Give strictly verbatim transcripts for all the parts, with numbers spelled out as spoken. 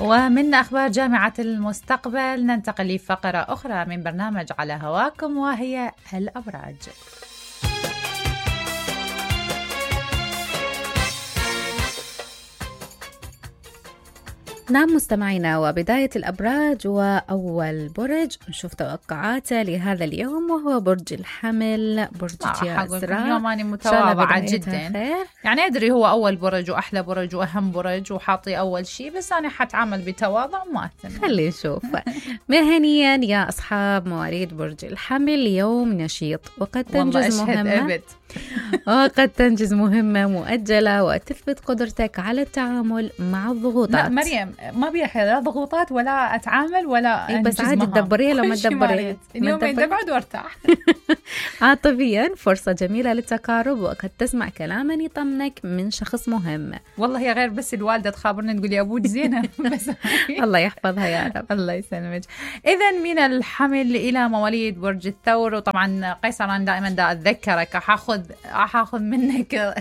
ومن أخبار جامعة المستقبل ننتقل لفقرة أخرى من برنامج على هواكم، وهي الأبراج. نعم مستمعينا، وبداية الأبراج وأول برج نشوف توقعاته لهذا اليوم، وهو برج الحمل. برج ياسراء، اليوم أنا متواضعة جدا خير. يعني أدري هو أول برج وأحلى برج وأهم برج وحاطي أول شيء، بس أنا حتعامل بتواضع وما أتمنى. خلي نشوف. مهنيا يا أصحاب مواليد برج الحمل، يوم نشيط وقد تنجز مهمة وقد تنجز مهمة مؤجلة وتثبت قدرتك على التعامل مع الضغوطات. لا مريم، ما بيها لا ضغوطات ولا أتعامل ولا إيه، بس عادي تدبريها لو ما تدبريها اليومين تبعد وارتاح. عاطفيا فرصة جميلة للتقارب، وقد تسمع كلاما يطمنك من شخص مهم. والله يا غير بس الوالدة تخابرني تقول يا أبوك زينة. بس الله يحفظها يا رب. الله يسلمك. إذا من الحمل إلى مواليد برج الثور، وطبعا قيصر أنا دائما دا أتذكرك حاخذ حاخذ منك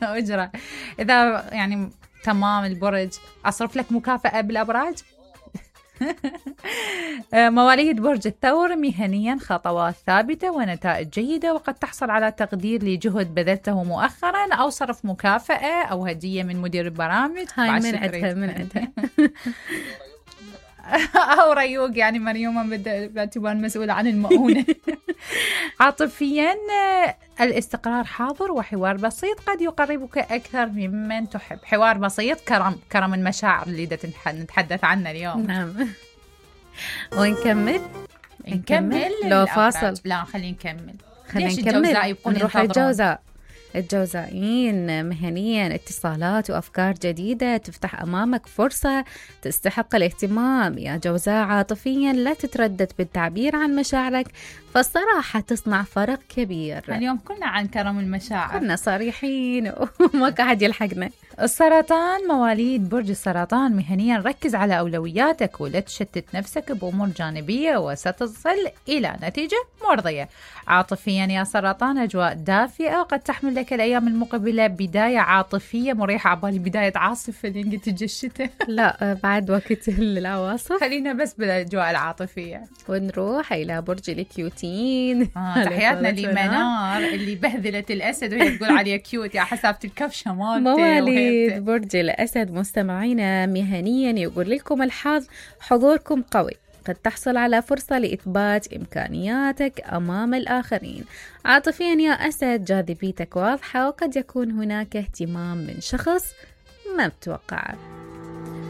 أجرة إذا يعني تمام البرج أصرف لك مكافأة بالأبراج. مواليد برج الثور مهنيا خطوات ثابتة ونتائج جيدة، وقد تحصل على تقدير لجهد بذلته مؤخرا أو صرف مكافأة أو هدية من مدير البرامج. هاي من عندها من عندها. أو ريوق يعني مريومة باعتبار مسؤولة عن المؤونة. عاطفيا الاستقرار حاضر، وحوار بسيط قد يقربك أكثر ممن تحب. حوار بسيط، كرم كرم المشاعر اللي نتحدث عنه اليوم. نعم. ونكمل نكمل لو فاصل. لا خلينا نكمل. خلينا نكمل نروح الجوزاء. الجوزائيين مهنيا اتصالات وأفكار جديدة تفتح أمامك فرصة تستحق الاهتمام يا جوزاء. عاطفيا لا تتردد بالتعبير عن مشاعرك، فالصراحة تصنع فرق كبير. اليوم كنا عن كرم المشاعر، كنا صريحين وما قاعد يلحقنا. السرطان، مواليد برج السرطان مهنيا ركز على أولوياتك ولا تشتت نفسك بأمور جانبية وستصل إلى نتيجة مرضية. عاطفيا يا سرطان أجواء دافئة، وقد تحمل لك الأيام المقبلة بداية عاطفية مريحة. عبالي بداية عاصفة لين تجي الشتاء. لا بعد وقت العواصف، خلينا بس بالأجواء العاطفية. ونروح إلى برج الكيوتين. آه تحياتنا لمنار اللي بهذلت الأسد وهي تقول عليه كيوت يا حسابة الكفشة مالتي. مواليد برج الأسد مستمعينا مهنيا يقول لكم الحظ حضوركم قوي، قد تحصل على فرصة لإثبات إمكانياتك أمام الآخرين. عاطفيا يا أسد جاذبيتك واضحة، وقد يكون هناك اهتمام من شخص ما بتوقعه.